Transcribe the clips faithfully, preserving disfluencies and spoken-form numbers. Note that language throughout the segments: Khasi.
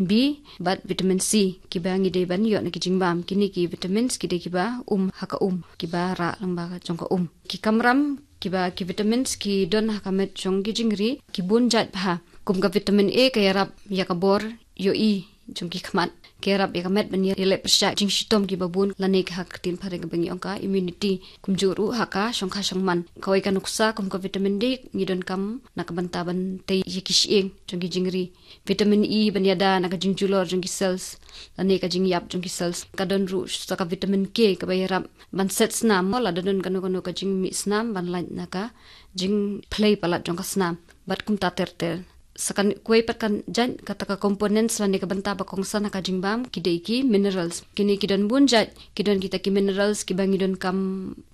B bad vitamin C kiba ngi dei ban ïoh na ki jingbam. Kine ki vitamins ki dei kiba um ha ka um, kiba rah lyngba jong ka um. Ki kamram kiba ki vitamins ki don ha ka met jong ki jingri ki bun jait bha. Kum ka vitamin A ka ïarap ïa ka bor ïohi jong ki khmat, ka ïarap ïa ka met ban ïaleh pyrshah jingshitom kiba bun lane ka ha ka ktien phareng kaba ngi ong ka immunity. Kumjuh ruh ha ka shongkha shongman. Kawei ka nuksa kum ka vitamin D ngi donkam na ka bynta ban tei ïa ki shyieng jong ki jingri. Vitamin E ban ïada na ka jingjulor jong ki cells lane ka jingïap jong ki cells. Ka don ruh sa ka vitamin K kaba ïarap ban set snam, mo lada don kano kano ka jingmih snam ban lait na ka jingphlei palat jong ka snam bad kumta ter ter. Sa kawei pat ka jait kata ka components lane ka bynta ba kongsan ha ka jingbam ki dei ki minerals. Kine ki don bun jait, ki don kita ki minerals kiba ngi donkam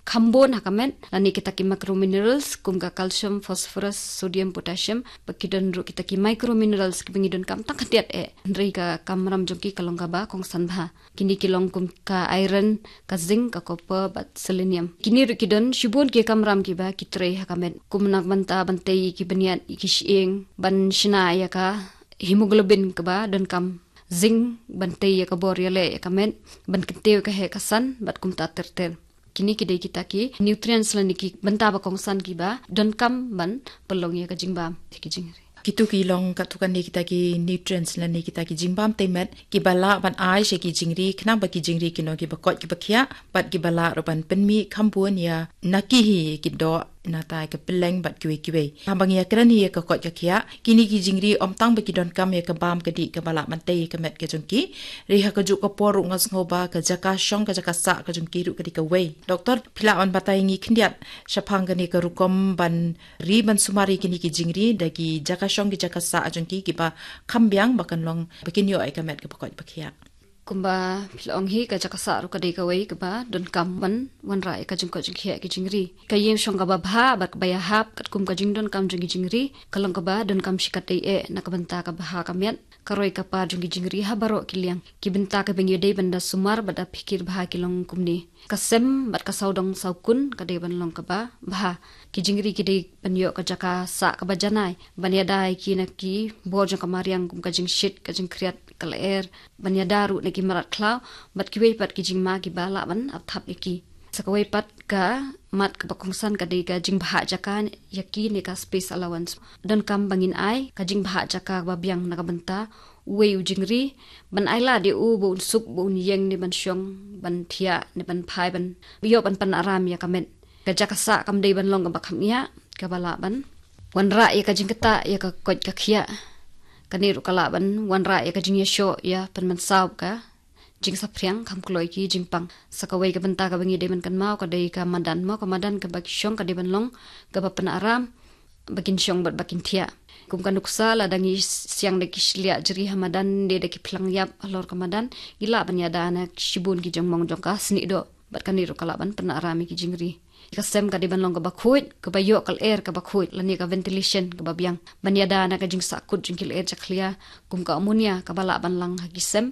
kham bun ha ka met lane kita ki macrominerals kum ka calcium, phosphorus, sodium, potassium, bad ki don ruh kita ki microminerals kiba ngi donkam tang khyndiat eh. Hynrei ka kamram jong ki ka long kaba kongsan bha. Kine ki long kum ka iron, ka zinc, ka copper bad selenium. Kine ruh ki don shibun ki kamram kiba ki trei ha ka met. Kum na ka bynta ban tei ïa ki bniat ïa ki shyieng, ban shna ïa ka hemoglobin kaba donkam, zinc ban tei ïa ka bor ïaleh ïa ka met, ban kyntiew ka heh ka san bad kumta ter ter. Kine ki dei kita ki nutrients lane ki bynta ba kongsan kiba donkam ban pynlong ïa ka jingbam ïa ki jingri. Kitu ki long katto katne kita ki nutrients lane kita ki jingbam tei met kiba lah ban ai sha ki jingri khnang ba ki jingri kin long kiba koit kiba khiah bad kiba lah ruh ban pynmih kham bun ïa na ki hi ki doh, nangta ka pylleng bad kiwei kiwei. Haba ngi ïakren hi ïa ka koit ka khiah, kine ki jingri ym tang ba ki donkam ïa ka bam ka dih kaba lah ban tei ïa ka met ka jong ki. Hynrei ha kajuh ka por ruh nga sngew ba ka jaka shong ka jaka sah ka jong ki ruh ka dei kawei. Doktor, phi lah ban batai ngi khyndiat shaphang kane ka rukom ban ri ban sumar ïa kine ki jingri da ki jaka shong ki jaka sah jong ki kiba kham biang ba kan long ba kin ïoh ïa ka met kaba koit ba khiah. Kumba phi la ong hi, ka jaka sah ruh ka dei kawei kaba donkam ban wanrah ïa ka jingkoit jingkhiah ki jingri. Ka ïing shong kaba bha bad kaba ïahap katkum ka jingdonkam jong ki jingri ka long kaba donkam shikatdei eh na ka bynta ka bha ka miat, ka roi ka par jong ki jingri ha baroh ki liang. Ki bynta kiba ngi dei ban da sumar bad da phikir bha ki long kumne. Ka sem bad ka sawdong sawkun ka dei ban long kaba bha. Ki jingri ki dei ban ïoh ka jaka sah kaba janai ban ïada ïa ki na ki bor jong ka mariang kum ka jingshit, ka jingkhriat, ka lyer, ban ïada ruh na ki mrad khlaw bad kiwei pat ki jingma kiba lah ban ap thap ïa ki. Sa kawei pat ka mat kaba kongsan ka dei ka jingbhah jaka ïa ki ne ka space allowance. Donkam ba ngin ai ka jingbhah jaka kaba biang na ka bynta uwei u jingri, ban ai lad ïa u ba un suk, ba un ïeng ne ban shong, ban thiah ne ban phai, ban ïoh ban pynaram ïa ka met. Ka jaka sah kam dei ban long kaba kham ïa kaba lah ban wanrah ïa ka jingktah ïa ka koit ka khiah. Kane ruh ka lah ban wanrah ïa ka jingïashoh ïa pynmynsaw ka jingsaphriang kham kloi ki jingpang. Sa kawei ka bynta kaba ngi dei ban kynmaw ka dei ka madan, mo, ka madan kaba ki shong ka dei ban long kaba pynaram ba kin shong bad ba kin thiah. Kum ka nuksa, lada ngi siang da ki shliah jri ha madan ne da ki phlang ïap halor ka madan, ngi lah ban ïada na shibun ki jingmong jong ka snieh doh. Bad kane ruh ka lah ban pynaram ïa ki jingri. Ka sem ka dei ban long kaba khuid, kaba ïoh ka lyer kaba khuid lane ka ventilation kaba biang. Ban ïada na ka jingsahkut jong ki lyer jakhlia kum ka ammonia kaba lah ban lang ha ki sem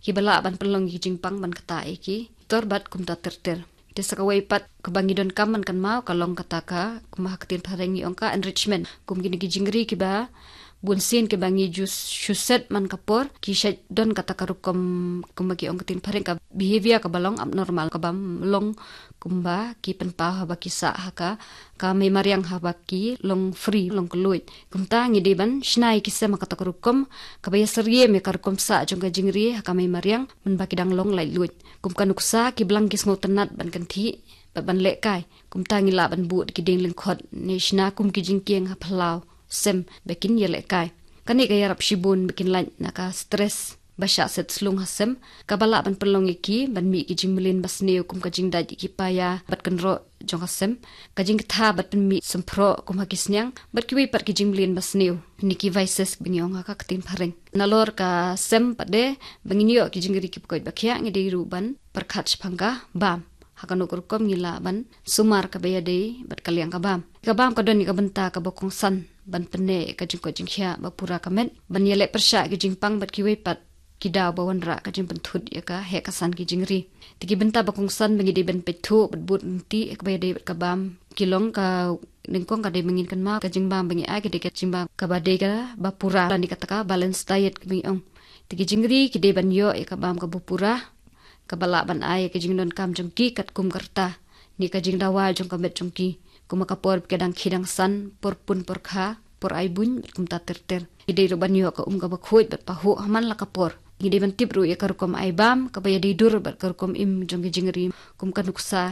kiba lah ban pynlong ïa ki jingpang ban ktah ïa ki tor bad kumta ter ter. Te sa kawei pat kaba ngi donkam ban kynmaw ka long kata ka, kumba ha ka ktien phareng ngi ong ka enrichment. Kum kine ki jingri kiba bunsien kiba ngi ju shu set man ka por, ki shait don kata ka rukom, kumba ki ong ka ktien phareng, ka behavior kaba long abnormal, kaba long kumba ki pynpaw haba ki sah ha ka, ka mei mariang haba ki long free, long kylluid. Kumta ngi dei ban shna ïa ki sem ha kata ka rukom kaba ïasyriem ïa ka rukom sah jong ka jingri ha ka mei mariang mynba ki dang long laitluid. Kum ka nuksa, ki blang ki sngewtynnat ban kynthih bad ban lehkai. Kumta ngi lah ban buh da ki dieng lyngkhot ne shna kum ki jingkieng ha phyllaw sem ba kin ïalehkai. Kane ka ïarap shibun ba kin lait na ka stress ba shah set slung ha sem, kaba lah ban pynlong ïa ki ban mih ki jingmlien basniew kum ka jingdait ïa ki paia bad kynroh jong ka sem, ka jingktha bad pynmih symphroh kum ha ki sniang, bad kiwei pat ki jingmlien basniew ne ki vices ba ngi ong ha ka ktien phareng. Nalor ka sem pat de, ba ngin ïoh ki jingri kiba koit ba khiah, ngi dei ruh ban pyrkhat shaphang ka bam. Ha kano ka rukom ngi lah ban sumar kaba ïadei bad ka liang ka bam. Ka bam ka don ïa ka bynta kaba kongsan ban pynneh ïa ka jingkoit jingkhiah ba pura ka met, ban ïaleh pyrshah ïa ka jingpang bad kiwei pat ki daw ba wanrah ka jingpynthut ïa ka heh ka san ki jingri. Te ki bynta ba kongsan ba ngi dei ban peit thuh bad bud ryntih ïa kaba ïadei bad ka bam ki long, ka nyngkong ka dei ba ngin kynmaw ka jingbam ba ngi ai ka dei ka jingbam kaba dei kaba pura lane kata ka balanced diet kaba ngi ong. Te ki jingri ki dei ban ïoh ïa ka bam kaba pura, kaba lah ban ai ïa ka jingdonkam jong ki katkum ka rta, ne ka jingdawa jong ka met jong ki. Kum ha ka por ba ki dang khie dang san, por pun por kha, por ai buiñ, bad kumta ter ter. Ki dei ruh ban ïoh ka um kaba khuid bad pahuh ha man la ka por. Ngi dei ban tip ruh ïa ka rukom ai bam kaba ïadei dur bad ka rukom im jong ki jingri, kum ka nuksa,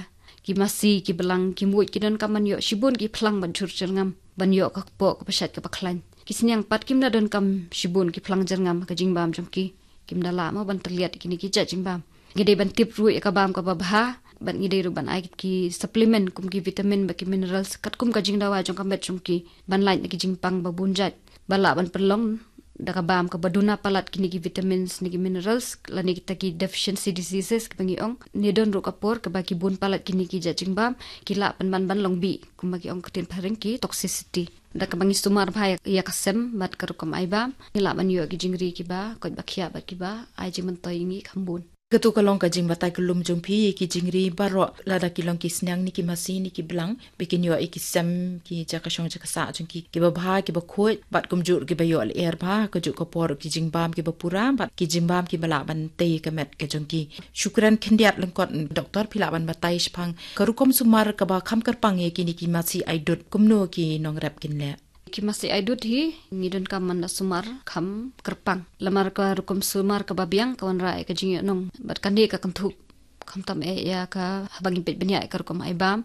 ki masi, ki blang, ki muid, ki donkam ban ïoh shibun ki phlang ban jur jyrngam, ban ïoh ka kpoh kaba shait kaba khlaiñ. Ki sniang pat kim da donkam shibun ki phlang jyrngam ha ka jingbam jong ki. Kim da lah mo ban tylliat kine ki jait jingbam. Ngi dei ban tip ruh ïa ka bam kaba bha, bad ngi dei ruh ban ai ki supplement kum ki vitamin bad ki minerals katkum ka jingdawa jong ka met jong ki, ban lait na ki jingpang ba bun jait, ba lah ban pynlong da ka bam kaba duna palat kine ki vitamins ne ki minerals, lane kita ki deficiency diseases kiba ngi ong. Ne don ruh ka por kaba ki bun palat kine ki jait jingbam, ki lah pynban ban long bih, kumba ki ong ktien phareng ki toxicity. Da kaba ngi sumar bha ïa ka sem bad ka rukom ai bam, ngi lah ban ïoh ki jingri kiba koit ba khiah bad kiba ai jingmyntoi ïa ngi kham bun. Katu ka long ka jingbatai kyllum jong phi ïa ki jingri baroh, lada ki long ki sniang ne ki masi ne ki blang, ba kin ïoh ïa ki sem, ki jaka shong jaka sah jong ki, kiba bha, kiba khuid, bad kumjuh kiba ïoh lyer bha, kajuh ka por ki jingbam kiba pura, bad ki jingbam kiba lah ban tei ka met ka jong ki. Shukran khyndiat lyngkot doktor, phi lah ban batai shaphang ka rukom sumar kaba kham kyrpang ïa kine ki masi ai dud, kumno ki nongrep kin leh. Ki masi ai dud hi, ngi donkam ban da sumar kham kyrpang. Namar ka rukom sumar kaba biang ka wanrah ïa ka jingïohnong bad kane ka kynthup. Khamtam eh ïa ka, haba ngi peit bniah ïa ka rukom ai bam,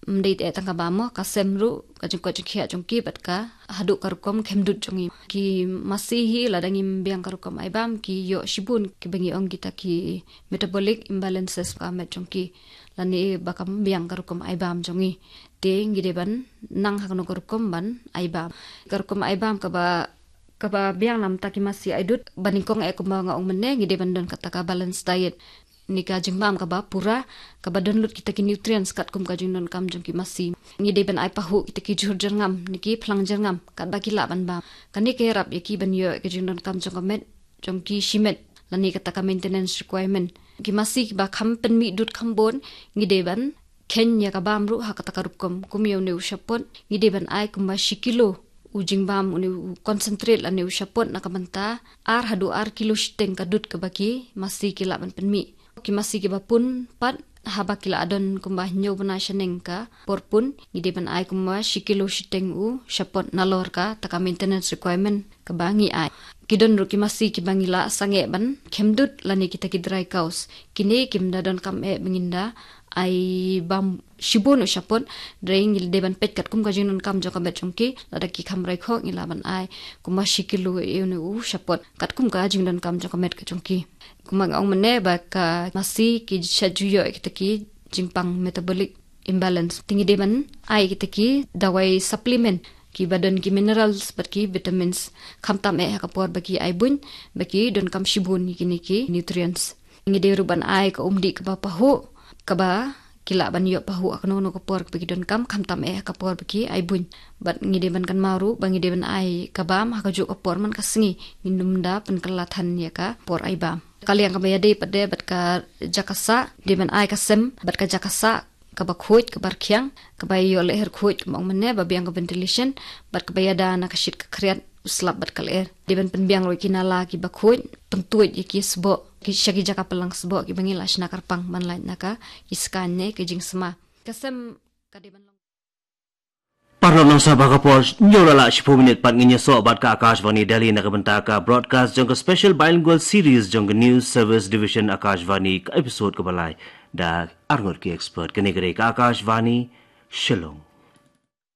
ym dei te eh tang ka bam mo, ka sem ruh, ka jingkoit jingkhiah jong ki bad ka haduh ka rukom khem dud jong ngi. Ki masi hi, lada ngim biang ka rukom ai bam, ki ïoh shibun kiba ngi ong kita ki metabolic imbalances ha ka met jong ki. Lane ba kam biang ka rukom ai bam jong ngi. Te ngi dei ban nang ha kano ka rukom ban ai bam. Ka rukom ai bam kaba, kaba biang namar ki masi ai dud, ba nyngkong eh kumba nga ong mynne, ngi dei ban don kata ka balanced diet, ne ka jingbam kaba pura, kaba don lut kita ki nutrients katkum ka jingdonkam jong ki masi. Ngi dei ban ai pahuh kita ki jhur jyrngam ne ki phlang jyrngam katba ki lah ban bam. Kane ka ïarap ïa ki ban ïoh ka jingdonkam jong ka met, jong ki shimet, lane kata ka maintenance requirement. Ki masi kiba kham pynmih dud kham bun, ngi dei ban kheiñ ïa ka bam ruh ha kata ka rukom. Kum ïa une u shapot, ngi dei ban ai kumba shi kilo u jingbam, une u concentrate lane u shapot, na ka bynta ar haduh ar kilo shiteng ka dud kaba ki masi ki lah ban pynmih. Ki masi kiba pun pat, haba ki la don kumba hynñiew bnai shaneng ka por pun, ngi dei ban ai kumba shi kilo shiteng u shapot nalor kata ka maintenance requirement kaba ngi ai. Ki don ruh ki masi kiba ngi la sangeh ban khem dud lane kita ki dry cows. Kine kim da donkam eh ba ngin da ai bam shibun u shapot, hynrei ngi dei ban peit katkum ka jingdonkam jong ka met jong ki, lada ki kham rai khoh ngi lah ban ai kumba shi kilo ïa une u shapot katkum ka jingdonkam jong ka met ka jong ki. Kumba nga ong mynne ba ka masi ki shait ju ïoh ïa kita ki jingpang metabolic imbalance. Te ngi dei ban ai kita ki dawai supplement kiba don ki minerals bad ki vitamins, khamtam eh ha ka por ba ki ai buiñ, ba ki donkam shibun ïa kine ki nutrients. Ngi dei ruh ban ai ka umdih kaba pahuh, kaba ki lah ban ïoh pahuh ha kano kano ka por kaba ki donkam, khamtam eh ha ka por ba ki ai buiñ. Bad ngi dei ban kynmaw ruh ba ngi dei ban ai ka bam ha kajuh ka por man ka sngi, ngin ym da pynkylla than ïa ka por ai bam. Ka liang kaba ïadei pat de bad ka jaka sah, dei ban ai ka sem bad ka jaka sah kaba khuid, kaba rkhiang, kaba ïoh lyer khuid, kumba ong mynne, ba biang ka ventilation, bad kaba ïada na ka shit ka khriat, u slap bad ka lyer. Dei ban pynbiang ruh ïa ki nala kiba khuid, pyntuid ïa ki sboh, ki sha ki jaka pynlang sboh kiba ngi la shna kyrpang ban lait na ka ki skaiñ ne ka jingsma. Ka sem ka dei ban long. Paralok nongsan, ha ka por hynñiew la lah shiphew minit pat ngin ïasoh bad ka Akashvani Delhi na ka bynta ka broadcast jong ka Special Bilingual Series jong ka News Service Division Akashvani, ka episode kaba lai, da arngut ki expert. Kane ka dei ka Akashvani Shillong.